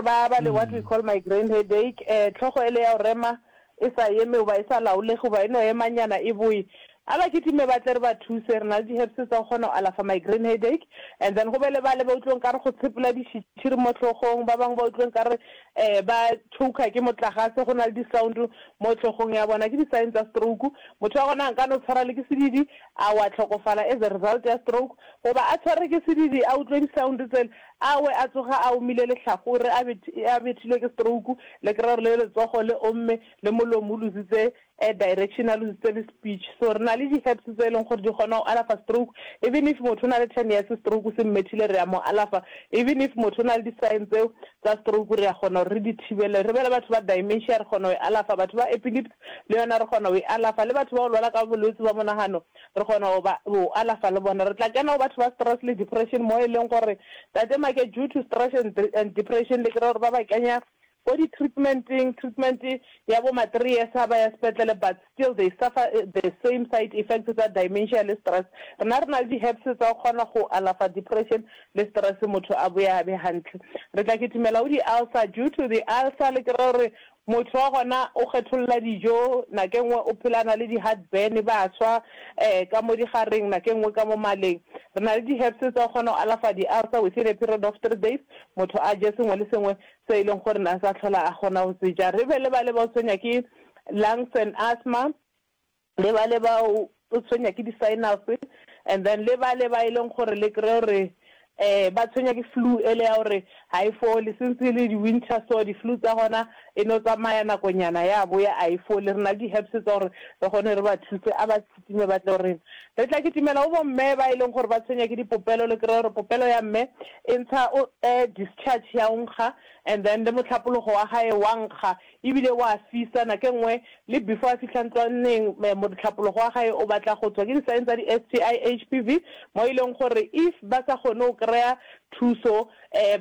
gore ba ba le what we call migraine headache, um tlhogo ele ya go rema e sa eme goba e sa laolege goba e no emanyana e boe. A ba kitime ba tle re ba thuse, re na le di-herbs tsa go kgona go alafa migraine headache. And then go be le bale ba utlwe nkare go tshepela dišitšhiri mo hlogong, ba bangwe ba utlwe nkare um ba choker ke motlagase, go na le di-sound mo hlogong ya bona, ke di-sign tsa stroke. Motho wa gona a nka no tshwara le ke sedidi a wa hlokofala as a result ya stroke, goba a tshware ke sedidi a utlwe di-sound tsele a we a tsoga a omile lehlakore a a bethilwe ke stroke, le kry-a gore le letsogo le omme le molomo o lositse direction a lositse le speech. So re na le di-herbs tse e leng gore di kgona go alafa stroke even if motho o na le ten years stroke se mmethile re a mo alafa, even if motho o na le di-sign tseo tsa stroke re a kgona gore re di thibele. Re be le batho ba dementia re kgona go e alafa, batho ba epilepsy le yona re kgona go e alafa, le batho ba go lwala ka bolwetse ba monagano re kgona go ba go alafa le bona. Re tla kena go batho ba stress le depression mo e leng gore Tate Make due to stress and, and depression le kry-a gore ba ba kenya ko di-treatmenteng, treatment ya bo ma three years ha ba ya sepetlele but still they suffer the same side effects tsa dementia le stress. Rena re na le di-herbs tsa go kgona go alafa depression le stress motho a boye a be hantle. Re tla kitimela go di-ulcer due to the ulcer le kry-a gore Motho wa gona o kgetholla dijo, nako e nngwe o phela a na le di-heartburn, ba swa ka mo digareng, nako e nngwe ka mo maleng. Re na le di-herbs tsa go kgona go alafa di-ulcer within a period of three days, motho a je sengwe le sengwe se e leng gore ne a sa hlola a kgona go se ja. Re be le bale ba go tshwenya ke lungs and asthma, le bale ba o tshwenya ke di-sinus, and then le bale ba e leng gore le kry-e gore um ba tshwenya ke flu ele ya gore ga e fole since e le di-winter so di-flu tsa gona e no tsamaya nakonyana ya boya a e fole. Re na le di-herbs tsa gore re kgone re ba thuse a ba kitime ba tle go rena. Re tla kitimela go bomme ba e leng gore ba tshwenya ke dipopelo le kry-e gore popelo ya mme e ntsha discharge ya go nkga and then le mohlapologo wa gae wa nkga Ebile wa fisa nako e nngwe le before a fihla ntlwaneng motlhapologo wa gae o batla go tswa. Ke di-sign tsa di-STI, HPV mo e leng gore if ba sa kgone go kry-a thuso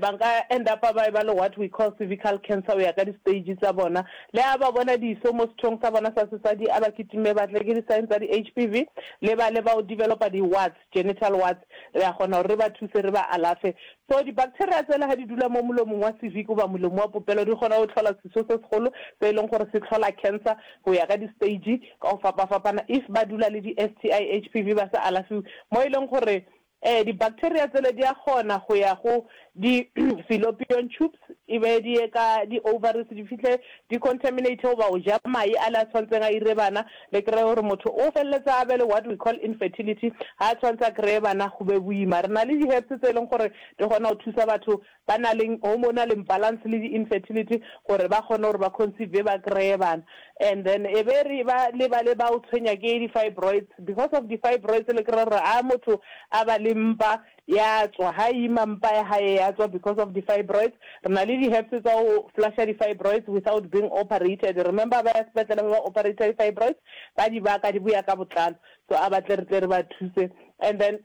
ba nka end up ba eba le what we call cervical cancer go ya ka di-stage tsa bona. Le ha ba bona diso mo sethong sa bona sa sesadi a ba kitime ba tle ke di-sign tsa di-HPV le ba le ba o developer di-warts. Genital warts, re a kgona gore re ba thuse re ba alafe. So di-bacteria tsela ga di dula mo molomong wa cervix goba molomo wa popelo di kgona go hlola seso se segolo se e leng gore se hlola cancer go ya ka di-stage ka go fapafapana if ba dula le di-STI, HPV ba sa alafiwe mo e leng gore um di-bacteria tsele di a kgona go ya go di fallopian tubes e be di ye ka di ovaries di fihle di contaminate goba go ja mae ale a tshwantseng a ire bana le kry-e gore motho o feleletsa a be le what we call infertility ha a tshwantse a kry-e bana go be boima. Re na le di herbs tse e leng gore di kgona go thusa batho ba na leng hormonal imbalance le di infertility gore ba kgone gore ba conceive ba kry-e bana and then e be re ba le ba le ba o tshwenya ke di fibroids because of di fibroids le kry-e gore a motho a ba le mpa Ya tswa, ha ima mpa ya hae ya tswa because of di fibroids. Re na le di herbs tsa go flusha di fibroids without being operated. Remember ba ya sepetlele ba ba operate di fibroids, ba di baka di boya ka botlalo. So a ba tle re tle re ba thuse. And then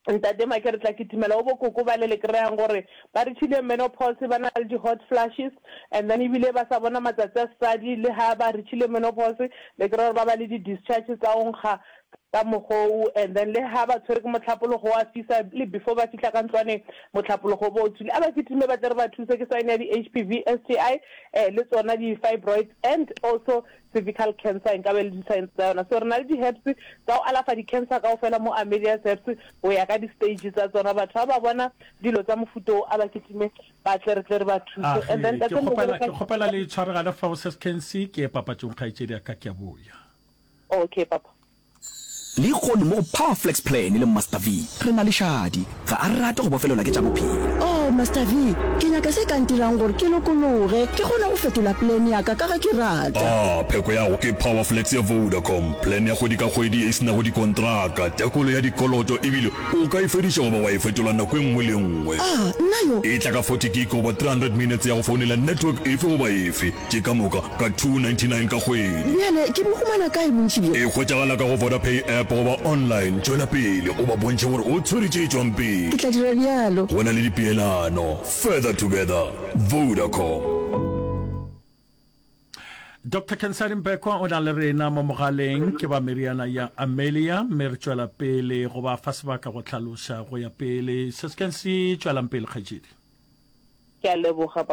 Ntate Make re tla kitimela go bo koko bale le kry-ang gore ba reachile menopause ba na le di hot flushes and then ebile ba sa bona matsatsi a sesadi le ha ba reachile menopause le kry-a gore ba ba le di discharge tsa go nkga ka mogou and then le ha ba tshwere ke motlhapologo wa fisa le before ba fihla ka ntlwaneng motlhapologo o bo o tswile a ba kitime ba tle re ba thuse ke sign ya di-H_P_V, S_T_I eh le tsona di-fibroids and also cervical cancer nka be le di-signs tsa yona so re na le di-herbs tsa go alafa di-cancer kaofela mo Amelia's Herbs go ya ka di-stage tsa tsona batho ha ba bona dilo tsa mofuta o a ba kitime ba tle re tle re ba thuse and then Age, ke kgopela ke kgopela le tshwaregane fao Sis Kensi ke ye papatšong kgaetšedi ya ka ke a boya. Okay papa. Lehono mo go Power Flex Plan le Master V re na le Shadi. Ga a rate go bofelelwa ke tša bophelo. Oh, Master V, ke nyaka se ka ntirang gore ke lokologe, ke kgone go fetola plan ya ka ka ge ke rata. Ah, pheko ya go ke Power Flex ya Vodacom, plan ya kgwedi ka kgwedi ye e se nago dikontraka, tekolo ya dikoloto ebile o ka e fediša goba wa e fetola nako e nngwe le e nngwe. Ah, nna yo! E tla ka 40 gig goba 300 minutes ya go founela network efe goba efe. Tše ka moka ka 299 ka kgwedi. Bjale ke bo humana kae bontši bjo? E hwetšagala ka go Vodapay app goba online. Tšwela pele o ba bontšhe gore o tshwere tše tšwang pele. Ke tla dira bjalo. Go na le dipeelano. Further together. Vodacom. Doctor Khensani Mbekwa o na le rena mo mogaleng, ke ba meriana ya Amelia, mme re tšwela pele go ba fa sebaka go hlaloša go ya pele. Se se tšwelang pele, kgaetšedi. Ke a leboga.